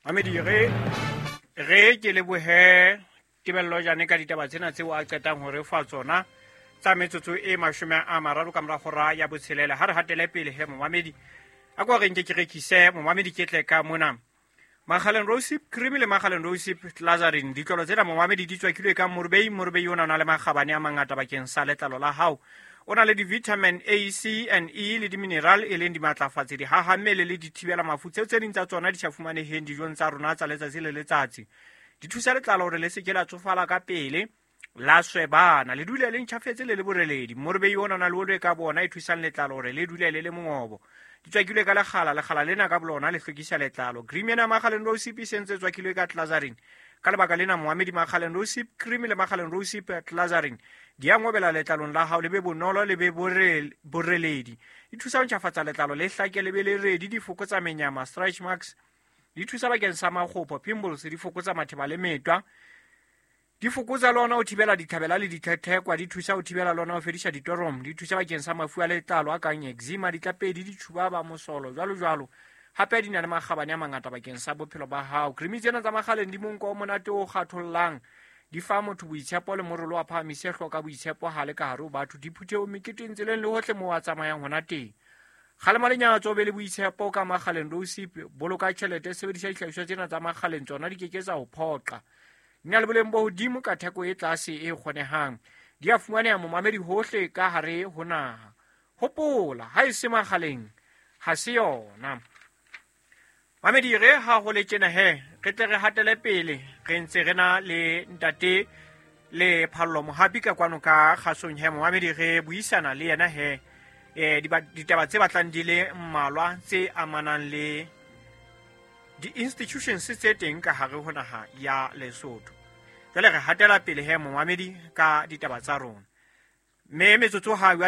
Mamedi, re ke lebohe Tebello Jane ka ditaba tsena tseo a qetang ho re fa tsona tsa metsotso e 30 ka mora hora ya botshelela. Ha re hatele pele he, momamedi, a ko re nke ke rekise, momamedi, ke tle ka mona. Makgaleng Rosip Cream le Makgaleng Rosip Glazarin, ditlolo tsena, momamedi, di tswakilwe ka morobei. Morobei ona o na le makgabane a mangata bakeng sa letlalo la hao. O na le di-vitamin A, C and E le di-mineral, e leng dimatlafatsi, dihahammele le dithibela mafu, tseo tse ding tsa tsona di sa fumaneheng dijong tsa rona tsa letsatsi le letsatsi. Di thusa letlalo hore le se ke la tsofala ka pele, la swebana, le dule le ntjhafetse le le boreledi. Morobei ona o na le ole ka bona e thusang letlalo hore le dule le le mongobo. Di tswakilwe ka lekgala. Lekgala lena ka bolona le hlwekisa letlalo. Cream ena Makgaleng Rosip e sentse tswakilwe ka glazarin. Ka lebaka lena, moamedi, Makgaleng Rosip Cream le Makgaleng Rosip Glazarin di a ngobela letlalong la hao, le be bonolo, le be boreledi. Di thusa ho ntjhafatsa letlalo, le hlake, le be le redi. Di fokotsa menyama, stretch marks. Di thusa bakeng sa makgopho, pimples. Di fokotsa matheba le metwa. Di fokotsa le ona ho thibela ditlhabela le ditlhethekwa. Di thusa ho thibela le ona ho fedisa ditorom. Di thusa bakeng sa mafu a letlalo a kang eczema, ditlapedi, ditšhubaba, mosolo, jwalo jwalo. Hape di na le makgabane a mangata bakeng sa bophelo ba hao. Cream tsena tsa Makgaleng di monko o monate o kgathollang. Di fa motho boitshepo le morolo wa phahamise hloka boitshepo ha le ka hare ho batho, diphuthehong, meketeng, tseleng le hohle moo a tsamayang hona teng. Kgalema lenyatso, o be le boitshepo ka Makgaleng Rosip. Boloka tjhelete, sebedisa dihlahiswa tsena tsa Makgaleng, tsona di ke ke tsa ho phoqa. Di na le boleng bo hodimo ka theko e tlase e kgonehang. Di a fumaneha, momamedi, hohle ka hare ho naha. Hopola, ha e se Makgaleng ha se yona. Mamedi, re ha ho le tjena he, re tle re hatele pele. Re ntse re na le ntate le Phallo Mohapi ka kwano ka kgasong he, momamedi, re buisana le yena he ditaba tse batlang di le mmalwa tse amanang le di-institutions tse teng ka hare ho naha ya Lesotho. Jwale re hatela pele he, momamedi, ka ditaba tsa rona, mme metsotso ha jwale.